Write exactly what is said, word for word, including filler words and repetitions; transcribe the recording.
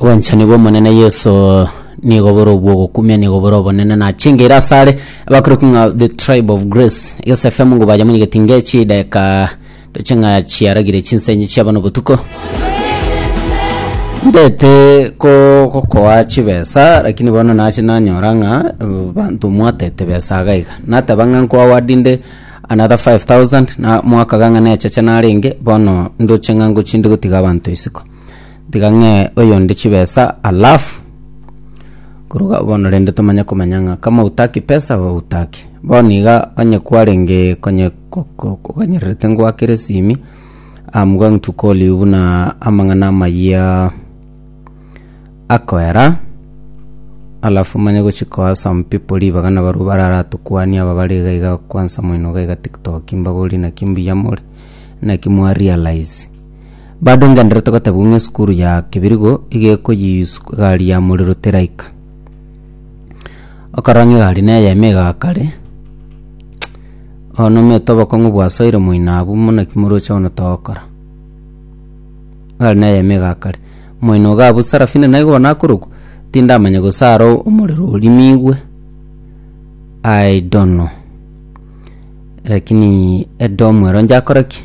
Obwanchani bw'Omonene Yeso nigo bore obw'ogokumia, nigo bore obonene na chingeira asare abakorokwa ng'a The Tribe of Grace. Egese F M ngobaja monyegeti ngechi dakika ndoche ng'a chiaragire chinsenyi chiabo nobotuko. Ndete ko gokoa chibesa, lakini bono nache nanyora ng'a eh, banto mwatete besa iga iga. Nateba ng'a nkoaward nde another five thousand na mwakaga ng'a necheche narenge, bono ndoche ng'a ngochinde gotiga abanto isiko. Tiga ng'e oyonde chibesa, alafu koruga bono rende tomanye komanya ng'a kama hutaki pesa o hutaki. Bono iga onye kwarenge konye ko- ko- koganyererete ngwakere esimi, I'm going to call you buna amang'ana amayia akoera, alafu manye gochi koa some people ribaga nabarabwo bararatukwanie aba bare iga iga kwansa moino iga iga TikTok, mbabori naki mbuya more, naki mwa realize. Bado ngenderete gotebwa ng'a esukuru ya Kebirigo iga ekoyiswa egari ya morero teraika. Okorora ng'a egari neyemo egakare, bono omanyete obokong'u bwasoire moino abwo mono naki moroche bono togokora. Egari neyemo egakare, moino iga abwo Sarafina naigo bono akorokwa, tindamanya gose aro omorero orimigwe, I don't know. Lakini edomu ero njakora ki?